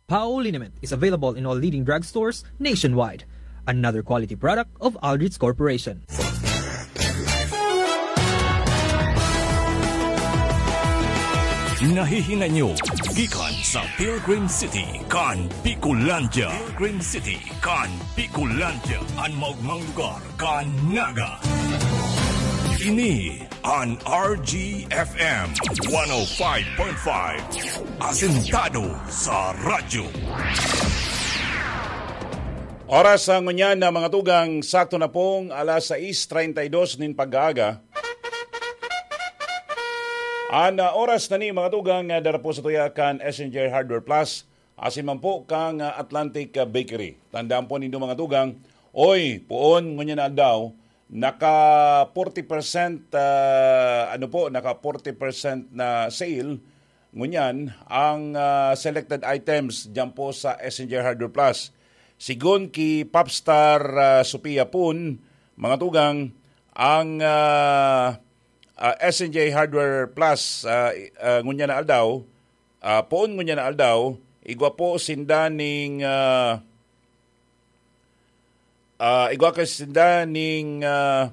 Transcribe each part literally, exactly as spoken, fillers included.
Pao liniment is available in all leading drugstores nationwide. Another quality product of Aldrich Corporation. Nahihinay nyo gikan sa Pilgrim City kan Bicolandia. Pilgrim City kan Bicolandia, an maugmang lugar kan Naga. Ini an R G F M one oh five point five, asentado sa radyo. Oras sa ngunyan na mga tugang, sakto na pong alas sais treinta y dos nin pag-aaga. An, ah, oras na ni mga tugang, ah, dara po sa tuya kan S N J Hardware Plus, asin man po kang, ah, Atlantic, ah, Bakery. Tandaan po nindo mga tugang, oy, poon ngunyan na aldaw, naka forty percent, ah, ano po, naka forty percent na sale ngunyan ang, ah, selected items diyan po sa S N J Hardware Plus. Sigon ki Popstar, ah, Sophia Pun, mga tugang, ang, ah, ah, S N J Hardware Plus, ah, i- ah, ngunyan na aldaw, ah, poon ngunyan na aldaw, igwa po sinda ning, ah, ah, igwa ka sinda ning, ah,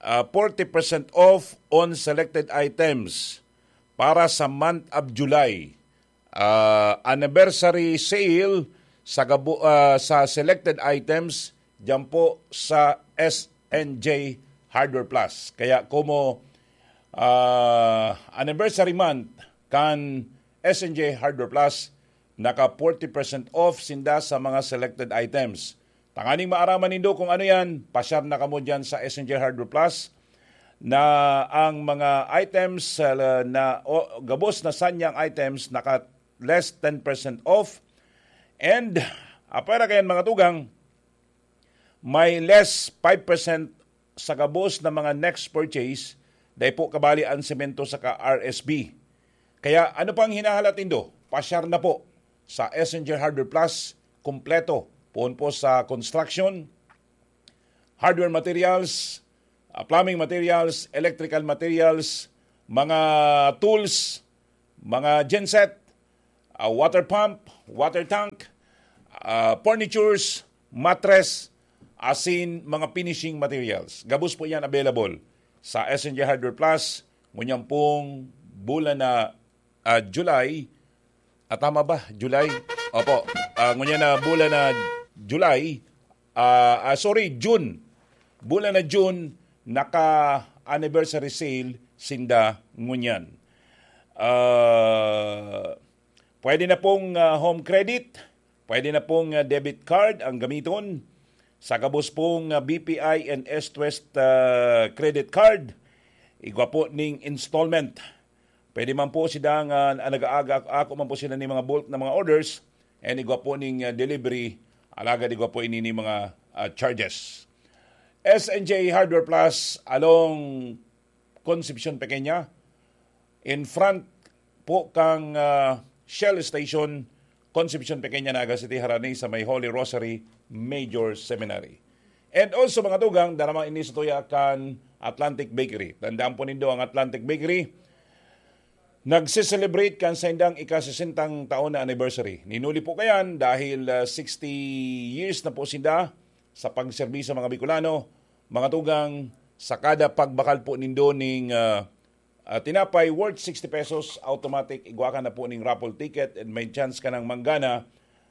ah, forty percent off on selected items para sa month of July. Ah, anniversary sale sa gabo-, ah, sa selected items diyan po sa S N J Hardware Plus. Kaya komo, ah, anniversary month kan S N J Hardware Plus, naka forty percent off sinda sa mga selected items. Tanganing maaraman nindo kung ano yan, pasyar na kamo dyan sa S N J Hardware Plus na ang mga items, ah, na o, gabos na sanyang items naka less ten percent off. And apwera kayan mga tugang, may less five percent sa gabos na mga next purchase, dai po kabali ang semento saka R S B. Kaya ano pang hinahalat nindo? Pasyar na po sa S N J Hardware Plus, kompleto. Poon po sa construction, hardware materials, ah, plumbing materials, electrical materials, mga tools, mga genset, ah, water pump, water tank, ah, furnitures, mattress, asin mga finishing materials. Gabos po yan available sa S N J Hardware Plus, ngunyan pong bulan na, ah, July. Ah, tama ba? July? Opo. Ah, ngunyan na bulan na July, ah, ah, sorry, June. Bulan na June, naka-anniversary sale sinda ngunyan. Ah, pwede na pong, ah, home credit, pwede na pong, ah, debit card ang gamiton. Sa gabos pong, ah, B P I and East West, ah, credit card, igwa po ning installment. Pwede man po sila nga, ah, nag-aaga, ako man po sila ni mga bulk na mga orders, and igwa po ning, ah, delivery, alagad igwa po ini ni mga, ah, charges. S N J Hardware Plus along Concepcion Pequeña, in front po kang, ah, Shell Station, Concepcion Pequeña, Naga City, harani sa may Holy Rosary Major Seminary. And also, mga tugang, dara man ini sa tuya kan Atlantic Bakery. Tandaan po nindo ang Atlantic Bakery. Nagse-celebrate kan saindang ika-sesentang taon na anniversary. Ninuli po kayan dahil, ah, sixty years na po sinda sa pagserbi sa mga Bicolano. Mga tugang, sa kada pagbakal po nindo ning, ah, ah, tinapay worth sixty pesos, automatic, igwa ka na po ning raffle ticket and may chance ka nang manggana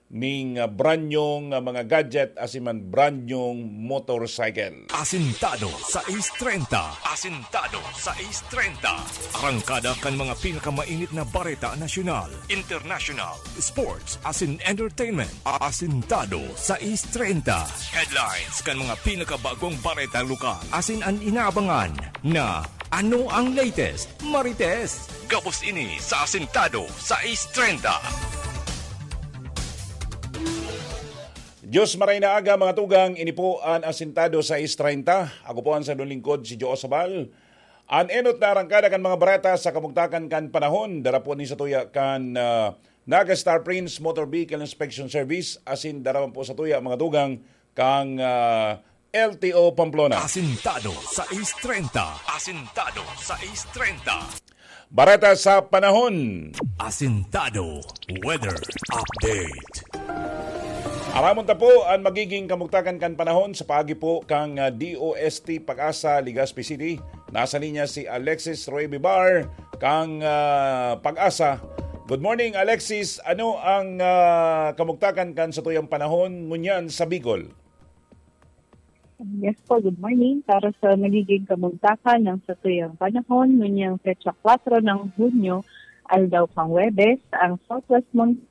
ning, ah, brand nyong, ah, mga gadget asin man brand nyong motorcycle. Asintado sais treinta. Asintado sais treinta. Arangkada kan mga pinakamainit na bareta nasyonal, international, sports, asin entertainment. Asintado sais treinta. Headlines kan mga pinakabagong bareta lokal. Asin an inaabangan na ano ang latest, Marites? Gabos ini sa Asintado sais treinta. Diyos maray na aga, mga tugang, ini po an Asintado sais treinta. Ako po an sadong lingkod, si Joe Sabal. An enot na arangkada kan mga bareta sa kabugtakan kan panahon, dara po ni sa tuya kan, ah, Naga Star Prince Motor Vehicle Inspection Service, asin dara man po sa tuya, mga tugang, kang, ah, L T O Pamplona. Asintado sais treinta. Asintado sais treinta. Bareta sa panahon. Asintado Weather Update. Aramon ta po an magiging kamugtakan kan panahon sa paagi po kan, ah, D O S T Pag-asa, Legazpi City. Nasa linya si Alexis Roy Bibar kang, ah, Pag-asa. Good morning, Alexis. Ano ang, ah, kamugtakan kan satuyang panahon ngunyan sa Bicol? Yes po, good morning. Para sa magiging kamugtakan ng satuyang panahon, ngonyang petsa kwatro ng Hunyo, aldaw kang Huwebes, ang southwest monsoon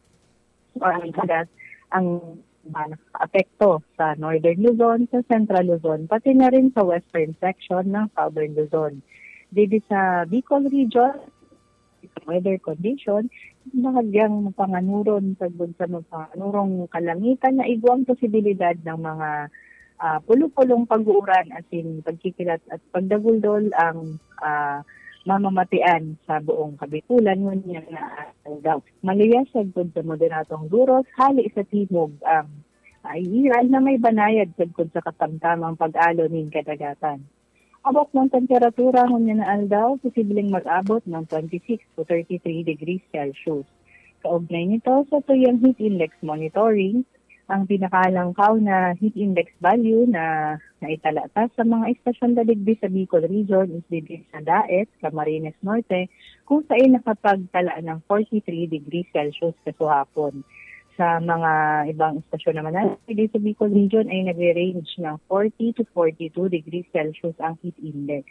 or ang dagat ang apekto sa Northern Luzon, sa Central Luzon, pati na rin sa western section ng Southern Luzon. Didi sa Bicol Region, weather condition, bahagyang mapanganuron sagkod sa mapanganurong kalangitan na igwang posibilidad ng mga ah, pulo-pulong pag-uuran asin pagkikilat at pagdaguldol ang ah, mamamatian sa buong Kabikulan ngunyan na aldaw. Maluyas sagkod sa moderadong duros hali sa timog ang aiiran na may banayad sagkod sa katamtamang pag-alo nin kadagatan. Abot ng temperatura ngunyan na aldaw, posibleng mag-abot ng twenty-six to thirty-three degrees Celsius. Kaugnay nito, sa tuyang heat index monitoring, ang pinakalangkaw na heat index value na naitala ta sa mga estasyon na digdi sa Bicol Region is digdi sa Daet, Camarines Norte, kung saan nakapagtala ng forty-three degrees Celsius kasuhapon. Sa mga ibang estasyon naman na digdi sa Bicol Region ay nagre-range ng forty to forty-two degrees Celsius ang heat index.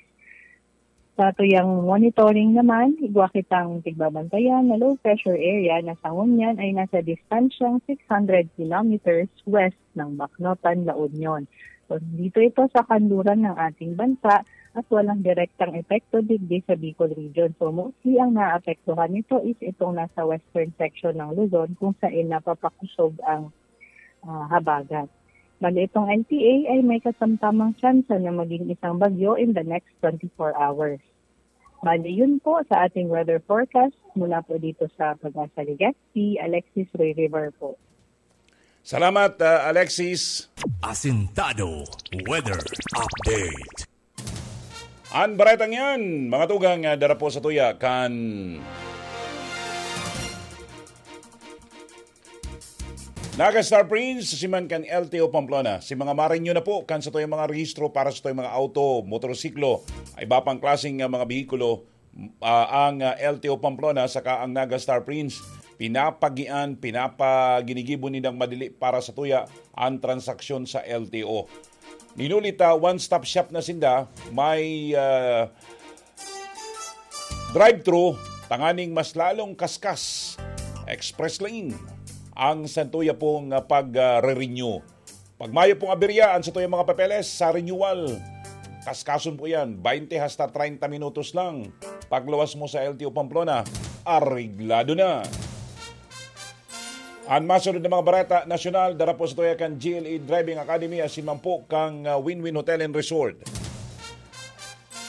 Sa tuyang monitoring naman, igwa kitang tigbabantayan na low pressure area na sa ngunyan ay nasa distansyang six hundred kilometers west ng Baknotan, La Union. So, dito ito sa kanluran ng ating bansa at walang direktang epekto digdi sa Bicol Region. So, mostly ang naapektuhan nito is itong nasa western section ng Luzon kung saan napapakusog ang ah, habagat. Bali, itong L T A ay may kasamtamang tsansa na maging isang bagyo in the next twenty-four hours. Bali, yun po sa ating weather forecast mula po dito sa Pag-asa Legazpi, Alexis Roy River po. Salamat, ah, Alexis. Asintado Weather Update. An baretang yan, mga tugang, ah, dara po sa tuya kan Naga Star Prince, si man kan L T O Pamplona. Si mga marinyo na po kan sa tuyang mga rehistro para sa tuyang mga auto, motorsiklo, ay iba pang klaseng, ah, mga behikulo, ah, ang, ah, L T O Pamplona saka ang Naga Star Prince. Pinapagian, pinapaginigibo nindang madili para sa tuya ang transaksyon sa L T O. Ninuli ta, one-stop shop na sinda, may, ah, drive-thru, tanganing mas lalong kaskas, express lane, ang santuya pong, ah, pag, ah, re-renew. Pag mayo pong aberya ang satuyang mga papeles sa renewal, kaskason po yan, twenty hasta treinta minutos lang. Pagluwas mo sa L T O Pamplona, areglado na. An masunod na mga bareta nasyonal, dara po sa tuya kan G L E Driving Academy asin man po kang, ah, Win-Win Hotel and Resort.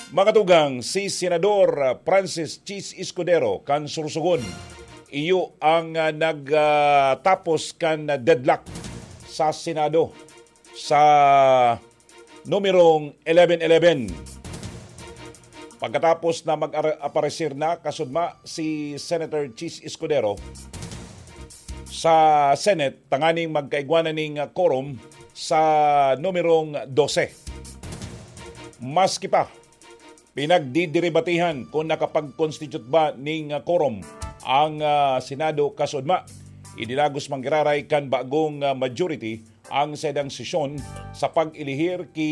Mga tugang, si Senador, ah, Francis Chiz Escudero kan Sorsogon, iyo ang, ah, nag, ah, tapos kan, ah, deadlock sa Senado sa numerong eleven eleven. Pagkatapos na mag-aparecer na kasudma si Senator Chiz Escudero sa Senate, tanganing magkaigwa na ning quorum sa numerong dose. Maski pa, pinagdidiribatihan kung nakapag-constitute ba ning quorum ang, ah, Senado kasudma. Idinagos man giraray kan bagong, ah, majority ang saindang sesyon sa pag-elihir ki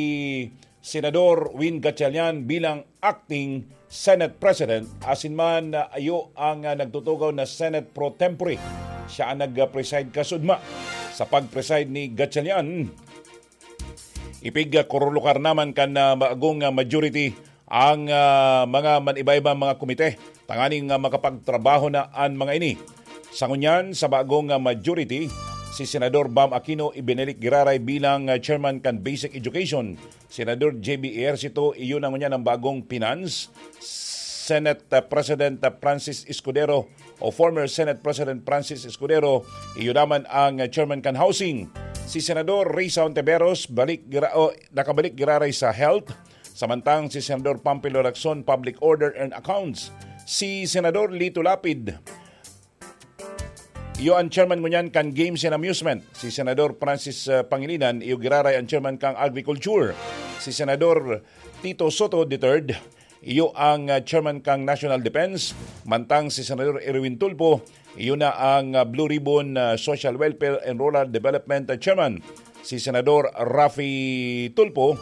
Senador Win Gatchalian bilang acting Senate President, asin man, ah, iyo ang, ah, nagtutugaw na Senate pro tempore. Siya ang nag-preside kasudma. Sa pag-preside ni Gatchalian, ipigkurulukar naman kan, ah, bagong, ah, majority ang, ah, mga man-iba-ibang mga komite tanganing, ah, makapagtrabaho na an mga ini. Sa ngunyan, sa bagong, ah, majority, si Senador Bam Aquino ibinalik giraray bilang, ah, chairman kan Basic Education. Senador J B Ejercito, iyo na ngunyan ang bagong finance. Senate, ah, President, ah, Francis Escudero o former Senate President Francis Escudero, iyo naman ang, ah, chairman kan housing. Si Senador Risa Ontiveros balik gira-, o, nakabalik giraray sa health. Samantang si Senador Pampilo Lacson, Public Order and Accounts. Si Senador Lito Lapid, iyo an chairman ngunyan kan Games and Amusement. Si Senador Francis, ah, Pangilinan, iyo giraray an chairman kan Agriculture. Si Senador Tito Soto the third, iyo ang, ah, chairman kan National Defense. Mantang si Senador Erwin Tulfo, iyo na ang, ah, Blue Ribbon, ah, Social Welfare and Rural Development, ah, Chairman. Si Senador Raffy Tulfo,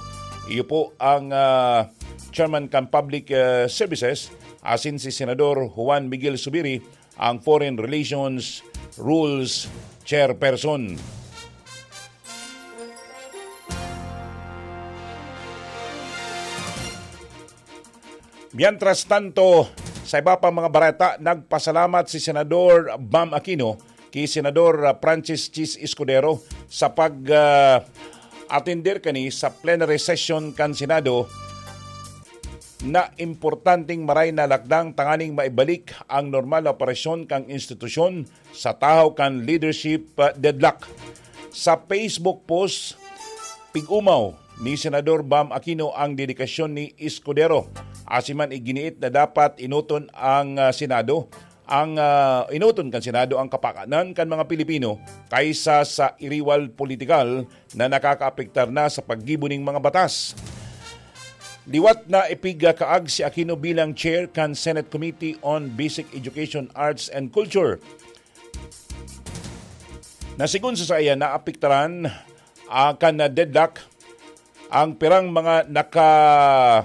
iyo po ang, ah, chairman kan Public, ah, Services, asin si Senador Juan Miguel Zubiri, ang Foreign Relations Rules Chairperson. Mientras tanto, sa iba pang mga bareta, nagpasalamat si Senador Bam Aquino ki Senador, ah, Francis Chiz Escudero sa pag, ah, atender kani sa plenary session kan Senado na importanteng maray na lakdang tanganing maibalik ang normal na operasyon kan institusyon sa tahaw kan leadership, ah, deadlock. Sa Facebook post, pig-umaw ni Senador Bam Aquino ang dedikasyon ni Escudero. Asin man iginiit na dapat enoton ang, ah, Senado, ang, ah, enoton kan Senado ang kapakanan kan mga Pilipino kaysa sa iriwal politikal na nakakaapektar na sa paggibo ning mga batas. Liwat na ipigkaag si Aquino bilang chair kan Senate Committee on Basic Education, Arts and Culture, na sigon sa saiya naapektaran, ah, kan deadlock ang pirang mga nakabinbin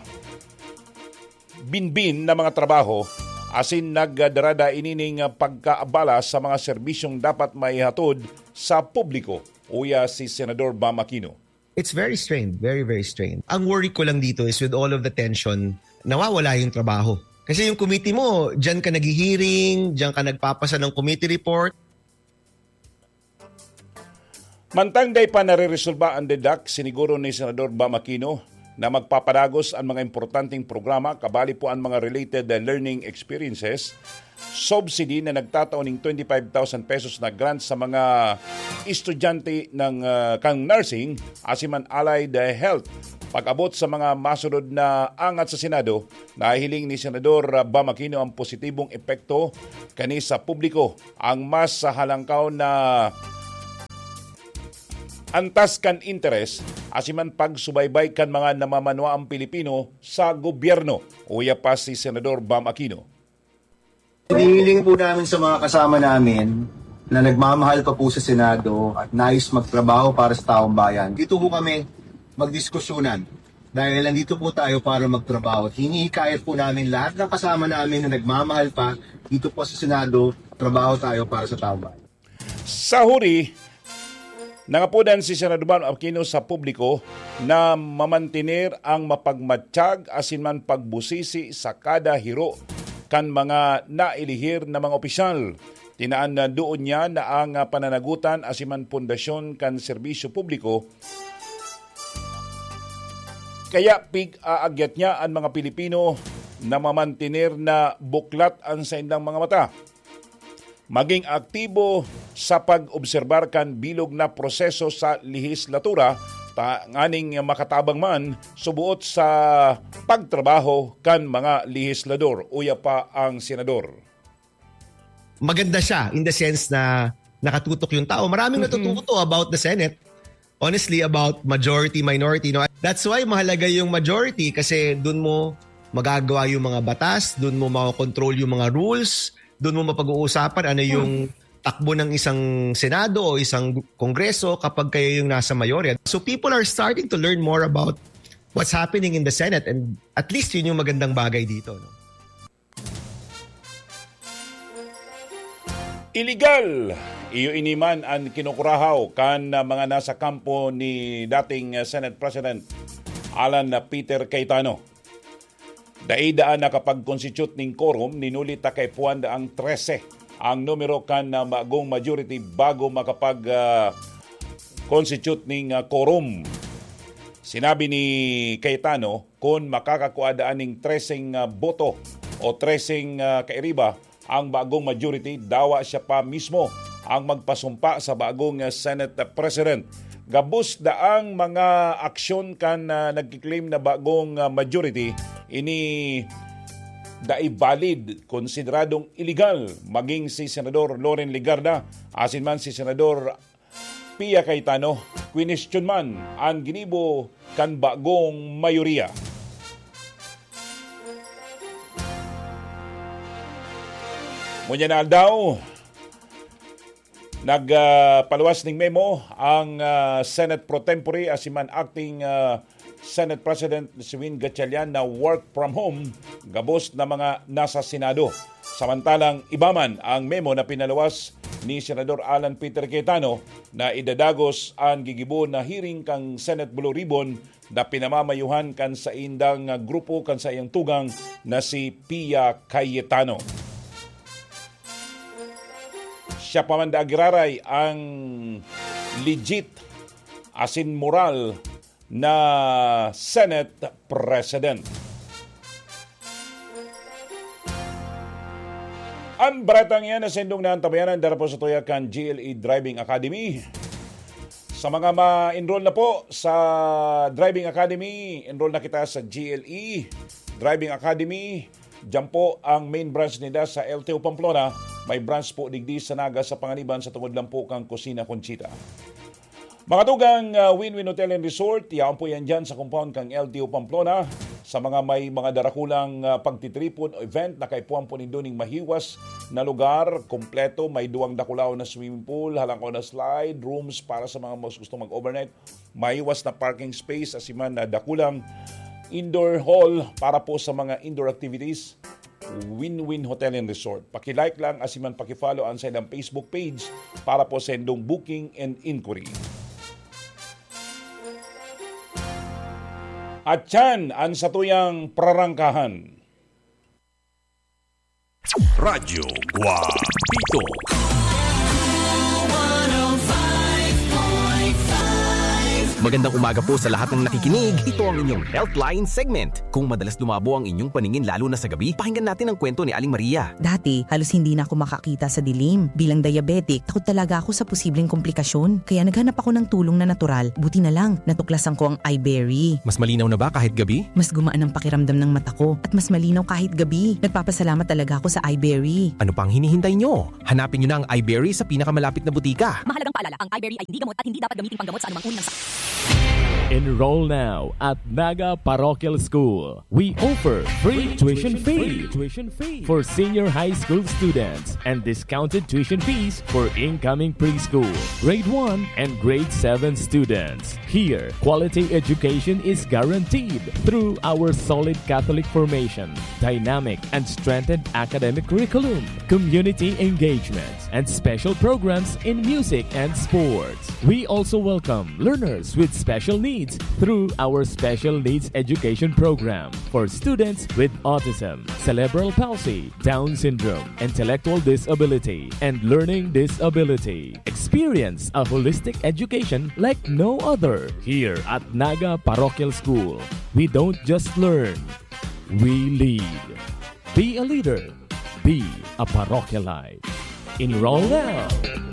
na mga trabaho, asin nagdarada ini ning pagkaabala sa mga serbisyong dapat maihatod sa publiko, uya si Senador Bam Aquino. It's very strained, very, very strained. Ang worry ko lang dito is with all of the tension, nawawala yung trabaho. Kasi yung committee mo, diyan ka naghihiring, diyan ka nagpapasa ng committee report. Mantang dai pa nareresolba ang deadlock, siniguro ni Senador Bam Aquino na magpapadagos ang mga importanteng programa, kabali po ang mga related learning experiences, subsidy na nagtatao ning twenty-five thousand pesos na grant sa mga estudyante ng, ah, kang nursing, asin man allied health. Pag-abot sa mga masunod na angat sa Senado, nahihiling ni Senador, ah, Bam Aquino ang positibong epekto kani sa publiko. Ang mas halangkaw na antas kan interes, asin man pagsubaybay kan mga namamanwaang Pilipino sa gobyerno, uya pa si Senador Bam Aquino. Hinihiling po namin sa mga kasama namin na nagmamahal pa po sa Senado at nais magtrabaho para sa taong bayan. Dito po kami magdiskusyonan dahil nandito po tayo para magtrabaho. Hinihikayat po namin lahat ng kasama namin na nagmamahal pa dito po sa Senado, trabaho tayo para sa taong bayan. Sa huri, nangapodan si Senador Bam Aquino sa publiko na mamantener ang mapagmatiyag asin man pagbusisi sa kada hiro kan mga nailihir na mga opisyal. Tinaan na doon niya na ang pananagutan asin man pundasyon kan serbisyo publiko, kaya pig-aagyat niya an mga Pilipino na mamantener na buklat an saindang mga mata, maging aktibo sa pag-obserbar kan bilog na proseso sa lehislatura, tanganing makatabang man subuot sa pagtrabaho kan mga lehislador, uya pa ang senador. Maganda siya in the sense na nakatutok yung tao. Maraming natututo about the Senate. Honestly, about majority, minority. No? That's why mahalaga yung majority kasi dun mo magagawa yung mga batas, dun mo makokontrol yung mga rules, dun mo mapag-uusapan ano yung takbo ng isang Senado o isang Kongreso kapag kayo yung nasa mayorya. So people are starting to learn more about what's happening in the Senate and at least yun yung magandang bagay dito. No? Iligal! Iyo ini man an kinukurahaw kan mga nasa kampo ni dating Senate President Alan Peter Cayetano. Dai daan nakapag-constitute ning quorum, ninuli ta kaipuhan daang trese ang numero kan, ah, bagong majority bago makapag, ah, constitute ning, ah, quorum. Sinabi ni Cayetano, kun makakakua daan ning treseng, ah, boto o treseng, ah, kairiba ang bagong majority, dawa siya pa mismo ang magpasumpa sa bagong, ah, Senate President. Gabos daang mga aksyon kan, ah, nagkiklaim na bagong, ah, majority, ini dai valid, konsideradong iligal magin si Senador Loren Legarda asin man si Senador Pia Cayetano. Kwenestyon man an ginibo kan bagong mayoriya. Ngunyan na aldaw, nag, ah, paluwas ning memo ang, ah, Senate pro tempore asin man acting, ah, Senate President si Win Gatchalian na work from home gabos na mga nasa Senado. Samantalang iba man ang memo na pinaluwas ni Senador Alan Peter Cayetano na idadagos an gigibo na hearing kan Senate Blue Ribbon na pinamamayuhan kan saindang grupo kan saiyang tugang na si Pia Cayetano. Siya pa man daa giraray ang legit asin moral na Senate President. An baretang iyan na sindong naantabayanan dara po sa tuya kan G L E Driving Academy. Sa mga ma-enroll na po sa Driving Academy, enroll na kita sa G L E Driving Academy. Diyan po ang main branch nila sa L T O Pamplona. May branch po digdi sa Naga, sa Panganiban, sa tungod lang po kang Kusina Conchita. Mga tugang, ah, Win-Win Hotel and Resort, yaon po yan dyan sa compound kang L T O Pamplona. Sa mga may mga darakulang, ah, pagtitripon o event, nakaipuhan po nindo ning mahiwas na lugar, kompleto, may duwang dakulaw na swimming pool, halangkaw na slide, rooms para sa mga mas gustong mag-overnight, mahiwas na parking space, asin man na dakulang indoor hall para po sa mga indoor activities. Win-Win Hotel and Resort. Paki-like lang, asin man paki-follow ang sa ilang Facebook page para po sa indong booking and inquiry. At yan ang satuyang prarangkahan. Radyo Guapito. Magandang umaga po sa lahat ng nakikinig. Ito ang inyong Healthline segment. Kung madalas lumabo ang inyong paningin lalo na sa gabi, pakinggan natin ang kwento ni Aling Maria. Dati, halos hindi na ako makakita sa dilim. Bilang diabetic, takot talaga ako sa posibleng komplikasyon. Kaya naghanap ako ng tulong na natural. Buti na lang, natuklasan ko ang Iberry. Mas malinaw na ba kahit gabi? Mas gumaan ang pakiramdam ng mata ko at mas malinaw kahit gabi. Nagpapasalamat talaga ako sa Iberry. Ano pang hinihintay nyo? Hanapin nyo na ang Iberry sa pinakamalapit na butika. Mahalagang paalala, ang Iberry ay hindi gamot at hindi dapat gamiting panggamot sa anumang uri ng sakit. Enroll now at Naga Parochial School. We offer free tuition fee for senior high school students and discounted tuition fees for incoming preschool, grade one, and grade seven students. Here, quality education is guaranteed through our solid Catholic formation, dynamic and strengthened academic curriculum, community engagement, and special programs in music and sports. We also welcome learners with special needs through our Special Needs Education Program for students with autism, cerebral palsy, Down syndrome, intellectual disability, and learning disability. Experience a holistic education like no other here at Naga Parochial School. We don't just learn, we lead. Be a leader. Be a parochialite. Enroll now.